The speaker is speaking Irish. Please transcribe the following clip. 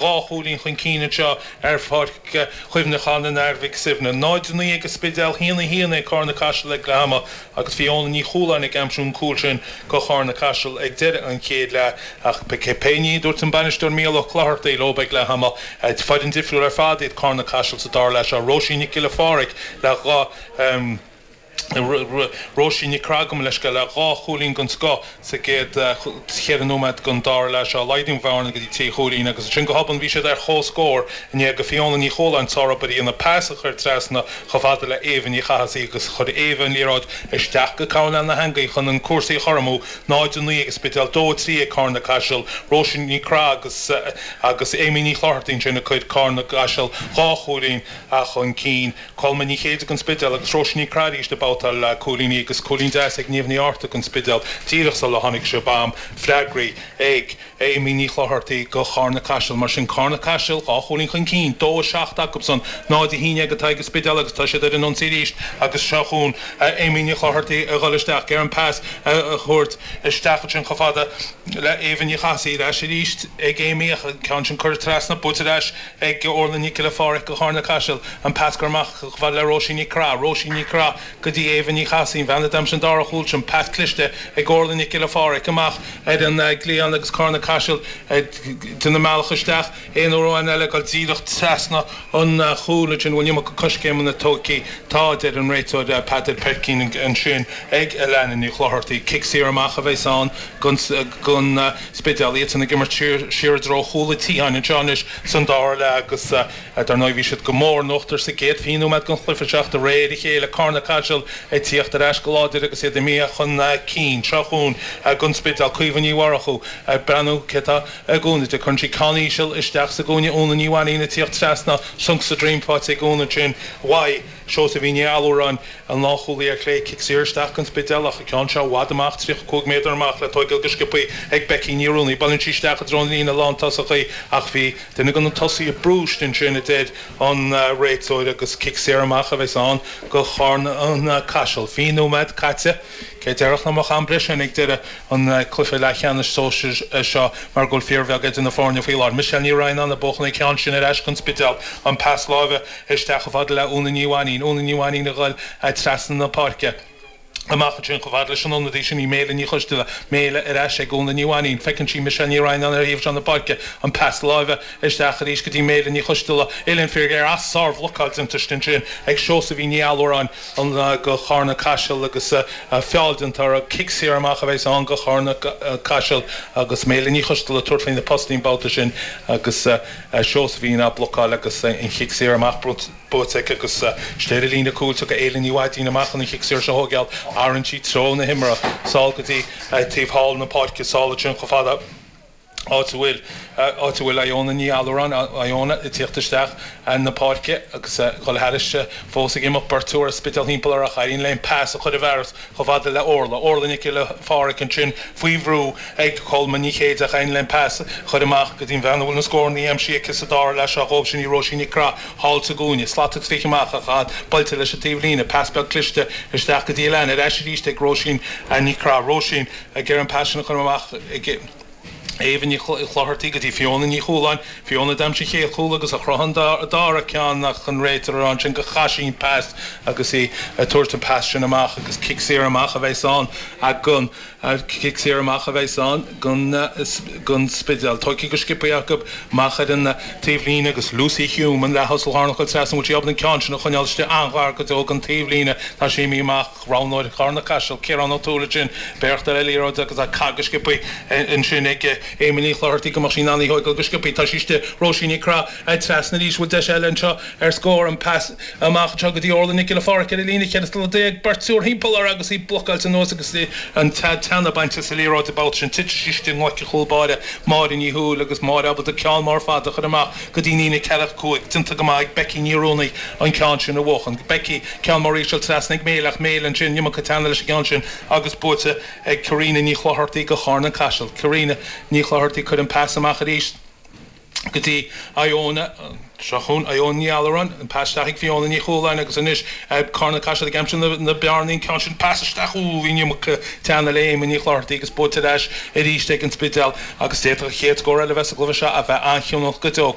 2 chúilín chun cinn anseo ar Pháirc Chuimhneacháin an Athar Mhic Suibhne. 0-9 ag an Spidéal, 1-1 ag Carna Caiseal ag leath ama agus bhí Úna Ní Chualáin ag aimsiú an cúl sin go Charna Caiseal ag deireadh an chéad leath ach pé ní a dúirt an bainisteoir Mícheál Ó Clochartaigh leo ag leath ama, foireann difriúil ar fad iad Carna Caiseal sa dara leath seo. Róisín Nic Giolla Phádraig le 2. Róisín Nic Craith, gabh mo leithscéal, le 2 chúilín den scoth sa gcéad cheithre nóiméad den dara leath seo. Laghdaíodh an bhearna go dtí 3 chúilín agus ansin go hobann bhí siad ar comhscór i ndiaidh do Fiona Ní Chualáin sárobair a dhéanamh, pas a chur trasna chomh fada le Éabha Ní Chathasaigh agus chuir Éabha an liathróid isteach go Carolanne na heangaí chun an cúrsaí a chothromú, 0-9 ag an Spidéal, 2-3 ag Carna Caiseal. Róisín Ní Craith agus agus Amy Ní Chlochartaigh ansin a chuir Carna Caiseal 2 chúilín chun cinn. Colma Ní Chéide don Spidéal agus Róisín Ní Craith arís ag babhtáil cúilíní agus cúilín deas ag Niamh Ní Fhátharta don Spidéal díreach sula tháinig seo b'am freagraí ag Amy Ní Chlochartaigh go Charna Caiseal. Mar sin Carna Caiseal, 2 chúilín chun cinn, 2 7 acusan, 0 11 atá ag an Spidéal agus tá siad ar an ionsaí arís agus seo chugainn Amy Ní Chlochartaigh a dhul isteach, ag iarraidh an pas a thabhairt isteach ansin chomh fada le Éabha Ní Chathasaigh ar ais arís ag Amy ach an ceann sin curtha trasna, buaite ar ais ag Orla Nic Giolla Phádraig go Charna Caiseal, an pas curtha amach chomh fada le Róisín Nic Craith, Róisín Nic Craith go dtí Éabha Ní Chathasaigh, an bhean a d'aimsigh an dara chúl sin, pas cliste ag Orla Nic Giolla Phádraig amach ar an gcliathán agus Carna Caiseal ag déanamh a mbealach isteach aon uair amháin eile ag dul díreach trasna an chúil ansin, bhfuil an iomarca coiscéimeanna tógtha, tá, a deir an réiteoir Peadar Peircín ansin ag Alana Ní Chlochartaigh. Cic saor amach a bheas ann don Spidéal, iadsan ag imirt siar i dtreo chúl an tSiatháin anseo anois san dara leath agus dar ndóigh bhí siad go mór in uachtar sa gcéad 20 nóiméad den chluiche seo de réir a chéile Carna Caiseal ag tíocht ar ais go láidir agus iad imithe chun cinn. Seo chugainn don Spidéal, Caoimhe Ní Mhurchú ag breathnú cé tá i gcúnamh di. Cuireann sí ceann íseal isteach sa gcúinne, Úna Ní Mhainín ag tíocht trasna, sonc sa droim faighte ag Úna ansin uaidh Seosaimhín Ní Allúráin, an lánchúlaí ar chlé, cic saor isteach don Spidéal ach an ceann seo i bhfad amach, 35 méadar amach le tóigeáil go sciobthaí ag Becky Ní Rúnaí. Buaileann sí isteach i dtreo na líne lántosach í ach bhí duine de na tosaithe brúiste ansin, a deir an réiteoir agus cic saor amach a bheas ann go Charna Caiseal. 20 nóiméad caite. Cé déarfadh nach mbeadh am breise ann ag deireadh an cluiche leathcheannais sóisir seo mar go bhfuil fíorbheag idir na foirne faoi láthair. Michelle Ní Raghanáin ag buachan an ceann sin ar ais don Spidéal. An pas láimhe isteach chomh fada le Úna Ní Mhainín. Úna Ní Mhainín a ghoil trasna na páirce. Amach ansin chomh fada leis an ionadaí sin í Méile Ní Choisdealbha. Méile ar ais ag Úna Ní Mhainín. Feiceann sí Michelle Ní Raghanáin ar thaobh seo na páirce. An pas láimhe isteach arís go dtí Méile Ní Choisdealbha. Uillinn fíorghéar ach sárbhlocáil déanta ansin ag Seosaimhín Ní Allúráin go Charna Caiseal agus feall déanta uirthi. Cic saor amach a bheas ann go Charna Caiseal agus Méile Ní Choisdealbha ag tabhairt faoi na postaí an babhta sin agus Seosaimhín á blocáil agus an chic saor amach buaite aici agus istigh ar an líne cúil tiocfaidh Éile Ní Mhaidín amach chun an chic saor seo a thóigeáil. Athraíonn sí treo na himeartha sall go dtí taobh thall na páirce, sall ansin chomh fada áit a bhfuil áit a bhfuil Iona Ní Allúráin, Iona ag tíocht isteach na páirce agus ag dul thairis fós ag imeacht beirt úr as Spidéal thimpeall uirthi ach éiríonn léi an pas a chur i bhfearas chomh fada le Orla. Orla Nic Giolla Phádraig ansin faoi bhrú ag Colma Ní Chéide ach éiríonn léi an pas a chur amach go dtí an bhean a bhfuil na scóranna aimsithe aici sa dara leath seo dhóibh, sin í Róisín Nic Craith thall sa gcúinne. Slat ag sroicheadh amach ach an buailte leis an taobhlíne. Pas beag cliste isteach go dtí Alana. Ar ais arís ag Róisín Nic Craith. Róisín ag iarraidh an pas sin a chur amach ag Éabha Ní Chlochartaigh go dtí Fiona Ní Chualáin. Fiona d'aimsigh an chéad chúl agus a chruthaigh an dara ceann ach an réiteoir ag rá ansin gur chaith sí an pas agus í ag tabhairt an pas sin amach agus cic saor amach a bheas ann don cic saor amach a bheas ann don don Spidéal. Tógtha go sciobtha acu amach ar an taobhlíne agus Lucy Hume an leath-thosach lárnach ag dul trasna an bhfuil sí ábalta an ceann sin a choinneáil istigh an-ghar go deo don taobhlíne. Tá sí imithe amach. Roghnóir Charna Caiseal, Ciarán Ó Tuathail ansin, b'éireacht ar liathróid agus á caith go sciobtha ansin ag Amy Ní Chlochartaigh go mbeadh sí in ann í a thóigeáil go sciobtha. Tá sí istigh, Róisín Nic Craith trasna arís, bhfuil deis eile anseo ar scór, an pas amach anseo go dtí Orla Nic Giolla Phádraig ar an líne, 14 slata, beirt úr thimpeall uirthi agus í blocáilte anuas agus an teannadh bainte as an liathróid an babhta sin. Titeann sí istigh i nglaic an chúl báire, Máire Ní Thuathail agus Máire ábalta ceann mór fada a chur amach go dtí an líne 45. Déanta go maith ag Becky Ní Rúnaí an ceann sin a bhuachan. Becky, ceann mór íseal trasna ag Méile ach Méile ansin, iomarca teannaidh leis an gceann sin agus buaite ag Karina Ní Chlochartaigh go Charna Caiseal. Karina Ní Chlochartaigh cuir an pas amach arís. Go dtí Iona, seo chugainn Iona Ní Alluráin, an pas isteach ag Fiona Ní Chualáin agus anois Carna Caiseal ag aimsiú na bearnaí, an ceann sin pas isteach, ooh bhí an iomarca teanna le Éamonn Ní Chlochartaigh agus buaite ar ais arís ag an Spidéal agus d'fhéadfadh an chéad scór eile a bheith sa gcluiche seo a bheith an-chinniúnach go deo.